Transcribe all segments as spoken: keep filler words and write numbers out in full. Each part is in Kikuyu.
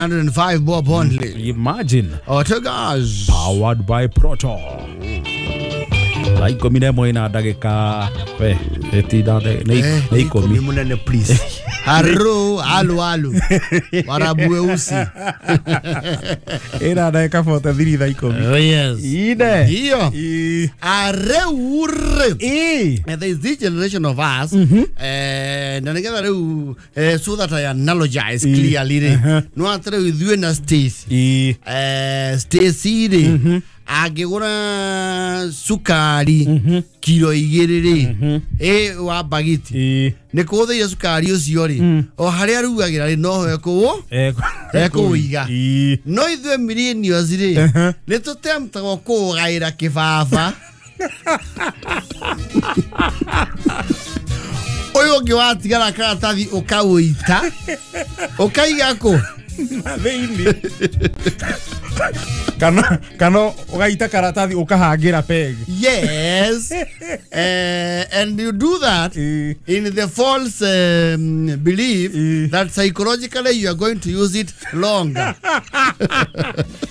one hundred five bob only. Imagine. Autogas. Powered by Proto. Thaa ikũmi na ĩmwe na ndagĩka we ĩtinda nĩ ikũmi munene please. Haro alu alu. Warabu weusi. Ĩna ndagĩka forty three thaa ikũmi. Oh yes. Ine. Hiyo. Areure. Eh. And there is this generation of us. Eh na nigetha riu so that I analogize clearly ri. No atire ithuĩ na Stacy. Eh Stacy ri. Angĩgũra cukari kilo igĩrĩ rĩ ĩ wa bagiti nĩ kũhũthĩire cukari ũcio rĩ o harĩa arugagĩra rĩ noho ekũwũ ekũwĩiga no ithuĩ millennials rĩ nĩ tũtemtagwo kũũgaĩra kĩbaba ũyũ ũngĩ watigara karatathi ũkaũita ũkaiga kũ na thĩinĩ kana kana ugaita karatathi ukahangira peg. Yes. Uh, and you do that mm. in the false um, belief mm. that psychologically you are going to use it longer.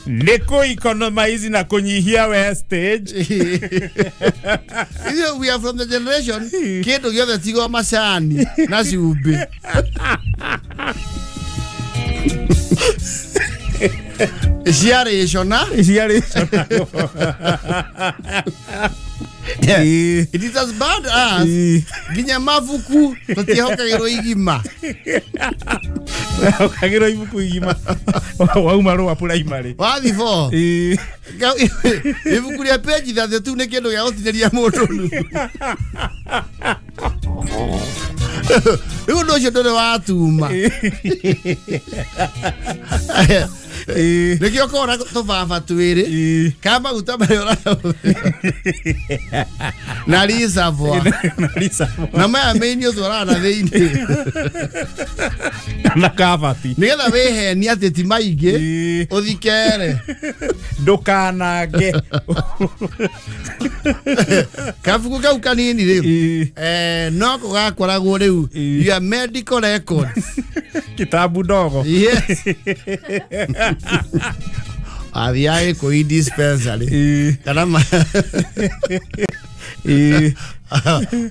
Niko economize na kunyihia wastage. You know, we are from the generation kindu giothe tigo macani na cumbĩ. Ciarĩcona ciarĩcona. It is as bad as nginya mabuku tũtiĩhokagĩrwo igima. Hokagĩrwo ibuku igima wauma rũa primary wathi four ibuku rĩa page thirty two nĩ kĩndũ gĩa gũtinĩria mũndũ nuthu. Rĩu ũndũ ũcio ndũrĩ watuma. Nĩkĩo ũkona tũbaba twĩrĩ ka maguta marĩa ũrahũthĩra na reservoir na maya main ũtwaraga na thĩinĩ na kabati nĩgetha wĩhenie atĩ ti maingĩ ũthikere ndũkanange kabuku kau kanini rĩu eh no gakoragwo rĩu your medical records kitabu ndogo. Yes. Athiaga kũi dispensary kana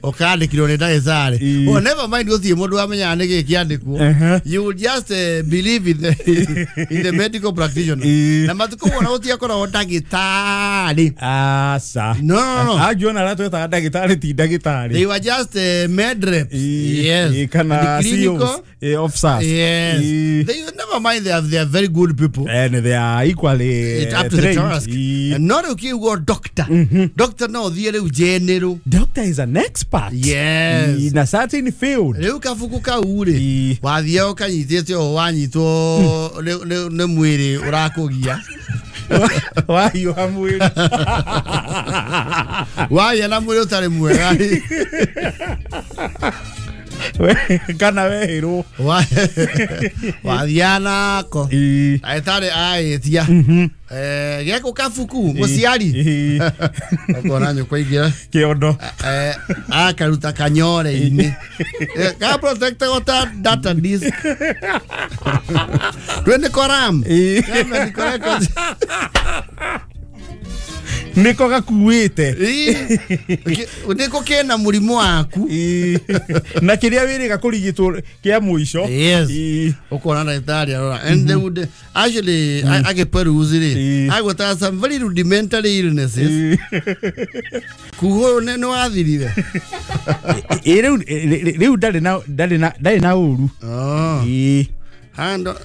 ũkandĩkirwo nĩ ndagĩtarĩ. Oh, never mind gũtirĩ mũndũ wamenyaga nĩkĩ kĩandĩkwo. You will just uh, believe in the, in the medical practitioner. Na matukũ wona gũtiakoragwo ndagĩtarĩ. Aca. No, no, no. Angiona arĩa twetaga ndagĩtarĩ ti ndagĩtarĩ. They were just uh, med reps. Yes. Kana C Os, officers. Yes. They never mind, they are, they are very good people. And they are equally it's up to the task. And not okay doctor. Doctor no thiĩ rĩu general. Doctor is an expert. Yes. In a certain field. Rĩu kabuku kau rĩ wathiaga ũkanyitĩte o wanyitwo nĩ mwĩrĩ ũrakũgia wahiũha mwĩrĩ wagĩa na mwĩrĩ ũtarĩ mwega kana wehĩrwo wathiaga nako ndagĩtarĩ aĩtia gĩakũ kabuku mũciari ũkona nyũkwa ingĩra kĩondo akaruta kanyore-inĩ ka protectagwo ta data disk twende koram niko gakuĩte niko kena mũrimũ waku na kĩrĩa wĩrĩga kũrigitwo kĩa mũico. Yes. Ũkona ndagĩtarĩ arora and they would actually agĩperuzi rĩ agwetaga some very rudimentary illnesses kuhũrwo nĩ wathirire. Rĩu rĩu ndarĩ na ndarĩ na ndarĩ na ũru hando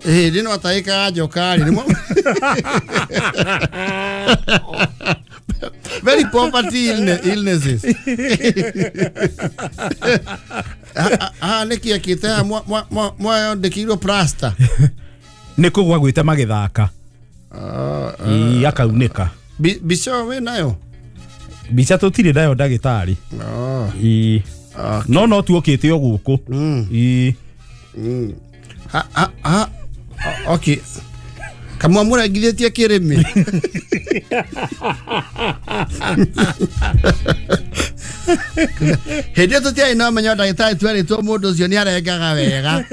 hĩndĩ no ataĩkaga njoka rĩ very poverty illnesses. Ah, nĩkĩ ekĩte haha mwandĩkĩirwo plaster nĩ kũgwa gwĩte magĩthaka akaunĩka. Mbica wĩ nayo? Mbica tũtirĩ nayo ndagĩtarĩ. No no tuokĩte o gũkũ. Ha ha ha okay. Kamwa mũrengithĩtie kĩrĩmĩ. Hĩndĩ ĩyo tũtiarĩ na ũmenyo ndagĩtarĩ twerĩtwo mũndũ ũcio nĩarengaga wega.